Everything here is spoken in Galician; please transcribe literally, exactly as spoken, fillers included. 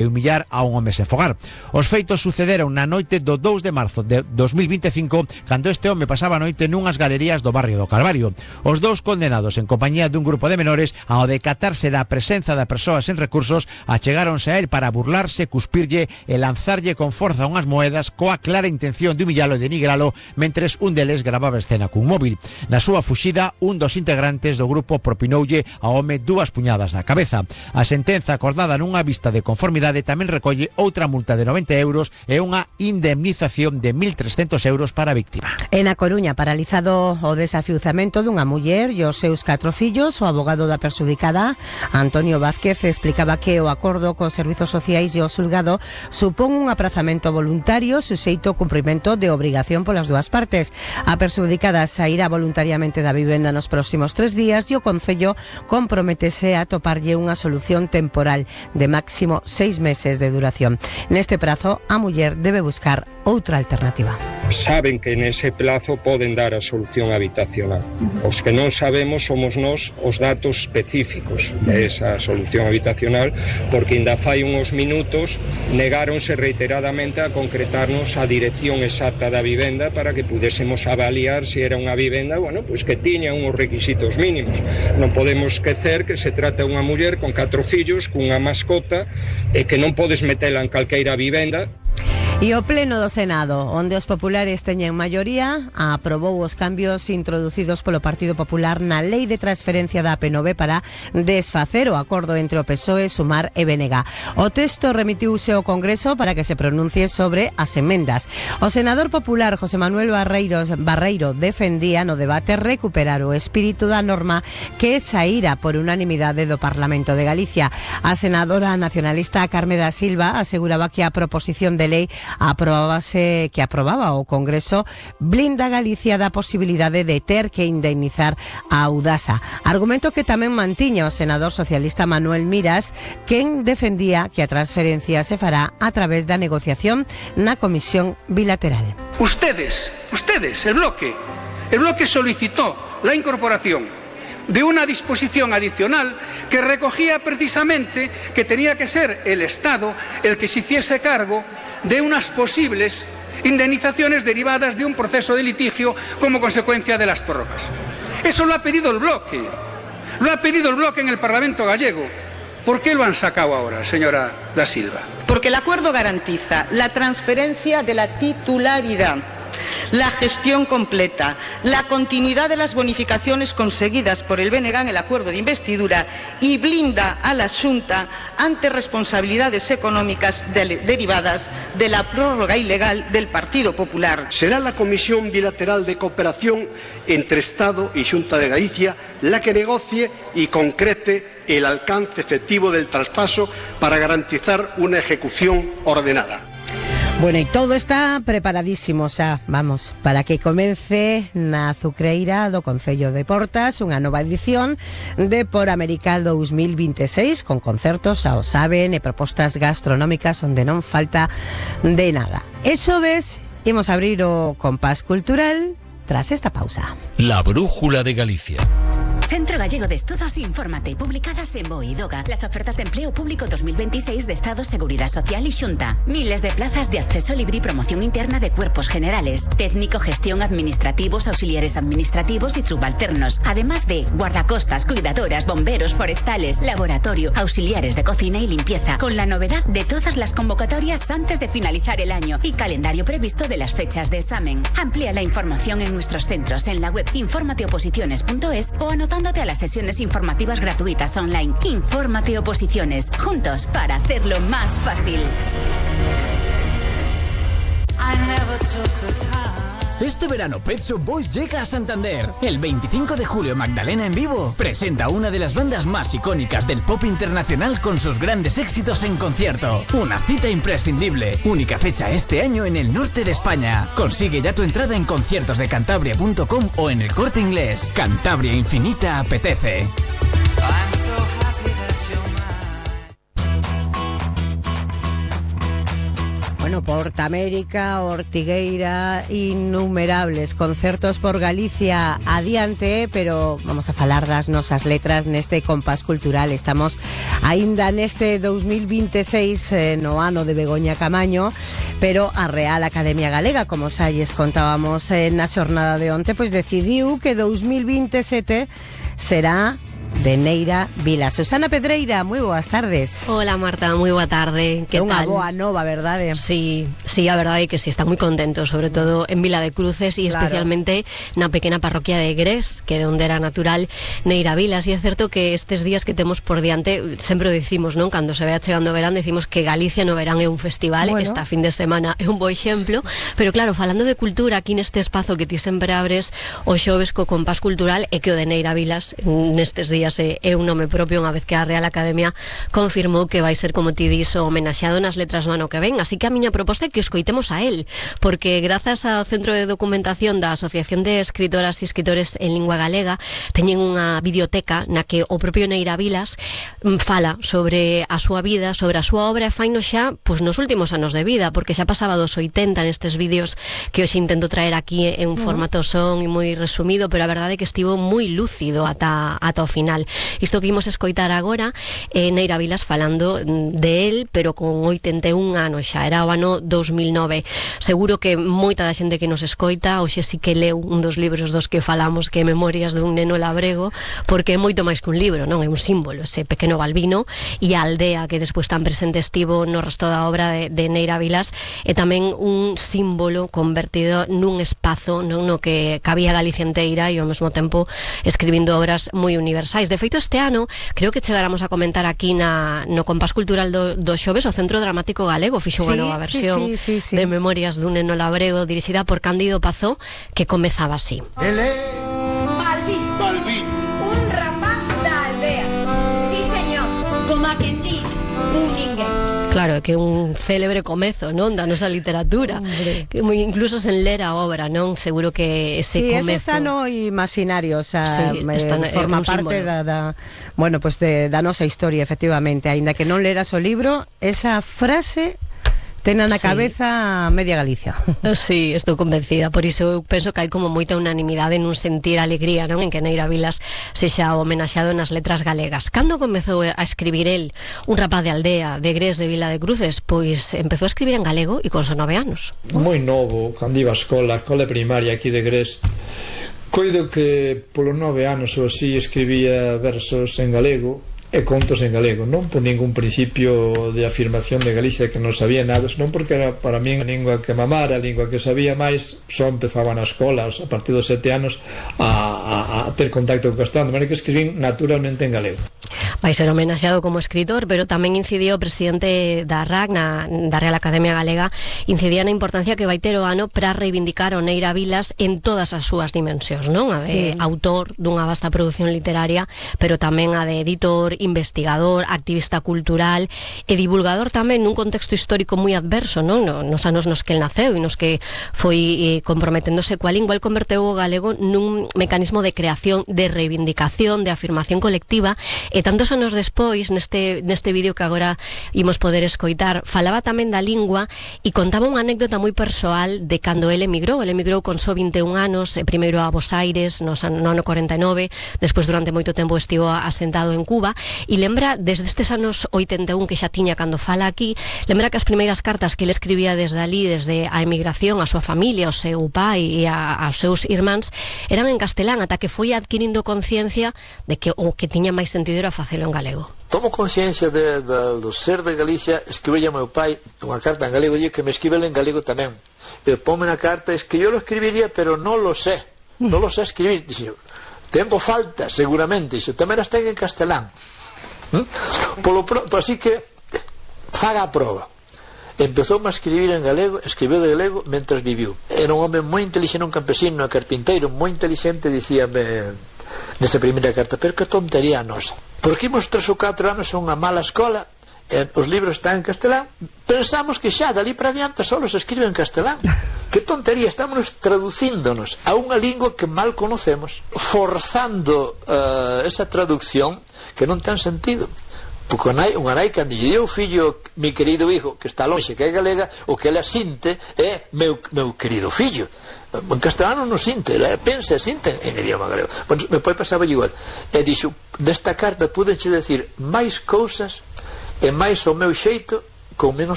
e humillar a un home sen fogar. Os feitos sucederon na noite do dous de marzo de dos mil vinte e cinco, cando este home pasaba a noite nunhas galerías do barrio do Calvario. Os dous condenados en compañía dun grupo de menores, ao decatarse da presenza de persoas sen recursos, achegáronse a él para burlarse, cuspirlle e lanzarlle con forza unhas moedas coa clara intención de humillalo e denigralo, mentres un deles gravaba a escena cun móvil. Na súa fuxida, un dos integrantes do grupo propinoulle ao home dúas puñadas na cabeza. A sentenza acordada nunha vista de conformidade tamén recolle outra multa de noventa euros e unha indemnización de mil trescentos euros para a víctima. En A Coruña, paralizado o desafiuzamento dunha muller e os seus catro fillos, o abogado da perxudicada, Antonio Vázquez, explicaba que o acordo cos servizos sociais e o xulgado supón un aprazamento voluntario suxeito ao cumprimento de obrigación polas dúas partes. A perxudicada sairá voluntariamente da vivenda nos próximos tres días e o Concello comprométese a toparlle unha solución temporal de máximo seis meses de duración. Neste prazo, a muller debe buscar outra alternativa. Saben que nese plazo poden dar a solución habitacional. Os que non sabemos somos nós os datos específicos de esa solución habitacional, porque ainda fai uns minutos negáronse reiteradamente a concretarnos a dirección exacta da vivenda para que pudésemos avaliar se era unha vivenda, bueno, pois que tiña uns requisitos mínimos. Non podemos esquecer que se trata de unha muller con catro fillos, cunha mascota, e que non podes metela en calqueira vivenda. E o Pleno do Senado, onde os populares teñen maioría, aprobou os cambios introducidos polo Partido Popular na Lei de Transferencia da A P nove para desfacer o acordo entre o P S O E, Sumar e B N G. O texto remitiuse ao Congreso para que se pronuncie sobre as emendas. O senador popular José Manuel Barreiros, Barreiro defendía no debate recuperar o espírito da norma que saíra por unanimidade do Parlamento de Galicia. A senadora nacionalista Carme da Silva aseguraba que a proposición de lei aprobábase que aprobaba o Congreso blinda Galicia da posibilidade de ter que indemnizar a Audasa. Argumento que tamén mantiña o senador socialista Manuel Miras, quen defendía que a transferencia se fará a través da negociación na Comisión Bilateral. Ustedes, ustedes, el bloque, el bloque solicitó la incorporación de una disposición adicional que recogía precisamente que tenía que ser el Estado el que se hiciese cargo de unas posibles indemnizaciones derivadas de un proceso de litigio como consecuencia de las prórrogas. Eso lo ha pedido el bloque, lo ha pedido el bloque en el Parlamento gallego. ¿Por qué lo han sacado ahora, señora Da Silva? Porque el acuerdo garantiza la transferencia de la titularidad, la gestión completa, la continuidad de las bonificaciones conseguidas por el B N G en el acuerdo de investidura y blinda a la Xunta ante responsabilidades económicas de, derivadas de la prórroga ilegal del Partido Popular. Será la Comisión Bilateral de Cooperación entre Estado y Xunta de Galicia la que negocie y concrete el alcance efectivo del traspaso para garantizar una ejecución ordenada. Bueno, e todo está preparadísimo xa, vamos, para que comece na azucreira do Concello de Portas unha nova edición de Por América dous mil vinte e seis con concertos, xa o saben, e propostas gastronómicas onde non falta de nada. Eso ves, imos abrir o compás cultural tras esta pausa. La Brújula de Galicia. Centro Gallego de Estudos, infórmate. Publicadas en Boidoga. Las ofertas de empleo público dos mil veintiséis de Estado, Seguridad Social y Xunta. Miles de plazas de acceso libre y promoción interna de cuerpos generales. Técnico, gestión, administrativos, auxiliares administrativos y subalternos. Además de guardacostas, cuidadoras, bomberos, forestales, laboratorio, auxiliares de cocina y limpieza. Con la novedad de todas las convocatorias antes de finalizar el año y calendario previsto de las fechas de examen. Amplía la información en nuestros centros en la web infórmate oposiciones punto es o anotándote a las sesiones informativas gratuitas online. Infórmate Oposiciones, juntos para hacerlo más fácil. Este verano Pet Shop Boys llega a Santander. El veinticinco de julio Magdalena en vivo presenta una de las bandas más icónicas del pop internacional con sus grandes éxitos en concierto. Una cita imprescindible. Única fecha este año en el norte de España. Consigue ya tu entrada en conciertos de cantabria punto com o en el Corte Inglés. Cantabria Infinita apetece. Bueno, Porta América, Ortigueira, innumerables concertos por Galicia adiante, pero vamos a falar das nosas letras neste compás cultural. Estamos aínda neste dos mil veintiséis, eh, no ano de Begoña Camaño, pero a Real Academia Galega, como xa lles contábamos eh, na xornada de onte, pois decidiu que dos mil veintisiete será de Neira Vilas. Susana Pedreira, moi boas tardes. Hola Marta, moi boa tarde. Que é unha tal? boa nova, verdade? Sí, sí, a verdade é que sí, está moi contento, sobre todo en Vila de Cruces e Claro. especialmente na pequena parroquia de Gres, que é onde era natural Neira Vilas. E é certo que estes días que temos por diante, sempre o dicimos, non? Cando se vea chegando o verán, decimos que Galicia no verán é un festival, Bueno. esta fin de semana é un bo exemplo, pero claro, falando de cultura, aquí neste espazo que ti sempre abres o xoves co compás cultural, é que o de Neira Vilas nestes días é, é un nome propio, unha vez que a Real Academia confirmou que vai ser, como ti dis, o homenaxeado nas letras do ano que ven. Así que a miña proposta é que o escoitemos a él, porque grazas ao Centro de Documentación da Asociación de Escritoras e Escritores en Lingua Galega teñen unha videoteca na que o propio Neira Vilas fala sobre a súa vida, sobre a súa obra, e faino xa pois, nos últimos anos de vida, porque xa pasaba dos oitenta nestes vídeos que hoxe intento traer aquí en un formato son e moi resumido, pero a verdade é que estivo moi lúcido ata, ata o final. Isto que imos escoitar agora é Neira Vilas falando de él, pero con oitenta e un anos xa, era o ano dos mil nove. Seguro que moita da xente que nos escoita hoxe sí que leu un dos libros dos que falamos, que é Memorias dun neno labrego, porque é moito máis que un libro, non? É un símbolo, ese pequeno Balbino, e a aldea que despois tan presente estivo no resto da obra de, de Neira Vilas, é tamén un símbolo convertido nun espazo, non? No que cabía Galicia inteira e ao mesmo tempo escribindo obras moi universais. De feito, este ano, creo que chegáramos a comentar aquí na, no compás cultural do, do xoves, o Centro Dramático Galego fixo unha Sí, nova versión sí, sí, sí, sí. de Memorias dun neno labrego dirixida por Cándido Pazó, que comezaba así. Balbín. Balbín. Un rapaz da aldea. Sí, señor. Como a quen di, un ninguén. Claro, é que un célebre comezo, non? Da nosa literatura. Que moi- incluso sen ler a obra, non? Seguro que ese Sí, comezo... eso está no imaginario, o sea, Sí, eh, está na- é forma un parte símbolo. da, da, bueno, pues de, da nosa historia, efectivamente. Aínda que non leras o libro, esa frase tena na Sí. cabeza media Galicia. Sí, estou convencida, por iso eu penso que hai como moita unanimidade nun sentir alegría, non? En que Neira Vilas sexa homenaxeado nas letras galegas. Cando comezou a escribir el, un rapaz de aldea, de Gres, de Vila de Cruces? Pois empezou a escribir en galego e con só nove anos. Moi novo, cando iba a escola, a escola primaria aquí de Gres, coido que polo nove anos ou así escribía versos en galego e contos en galego, non por ningún principio de afirmación de Galicia que non sabía nada, non porque era para min a lingua que mamara, a lingua que sabía máis, só empezaba nas escolas a partir dos sete anos a, a, a ter contacto co castelán, de maneira que escribín naturalmente en galego. Vai ser homenaxeado como escritor, pero tamén incidiu o presidente da R A C, na, da Real Academia Galega, incidía na importancia que vai ter o ano para reivindicar o Neira Vilas en todas as súas dimensións, non? A de Sí. autor dunha vasta produción literaria, pero tamén a de editor, investigador, activista cultural e divulgador tamén nun contexto histórico moi adverso, non? No, nos anos nos que el naceu e nos que foi eh, comprometéndose coa lingua, el converteu o galego nun mecanismo de creación, de reivindicación, de afirmación colectiva, e tantos anos despois, neste, neste vídeo que agora imos poder escoitar, falaba tamén da lingua e contaba unha anécdota moi persoal de cando ele emigrou. Ele emigrou con só vinte e un anos, e primeiro a Buenos Aires, no ano corenta e nove, despois durante moito tempo estivo asentado en Cuba, e lembra, desde estes anos oitenta e un que xa tiña cando fala aquí, lembra que as primeiras cartas que ele escribía desde ali, desde a emigración, a súa familia, ao seu pai e a, aos seus irmáns, eran en castelán, ata que foi adquirindo conciencia de que o que tiña máis sentido era facelo en galego. Tomo conciencia de, de, do ser de Galicia, escribirle a meu pai unha carta en galego, e que me escribele en galego tamén. E ponme na carta, es que yo lo escribiría, pero no lo sé, no lo sé escribir. Dice, tempo falta, seguramente, dice, tamén as ten en castelán. ¿Mm? Polo pro, por así que faga a prova. Empezou a escribir en galego, escribiu de galego mentre viviu. Era un home moi inteligente, un campesino, un carpinteiro moi inteligente, dicíame nesa primeira carta, pero que tontería a nosa, porque imos tres ou catro anos a unha mala escola, e os libros están en castelán, pensamos que xa dali para diante só se escribe en castelán. Que tontería, estamos traducíndonos a unha lingua que mal conocemos, forzando uh, esa traducción que non ten sentido. porque unha nai, unha nai cando lle dio o fillo, mi querido hijo, que está lonxe, que é galega, o que ela sinte é meu, meu querido fillo. En castelano non sinte, ela pensa e sinte en idioma galego. Bueno, me pode pasar igual. E dixo, desta carta pudenche decir máis cousas e máis o meu xeito con menos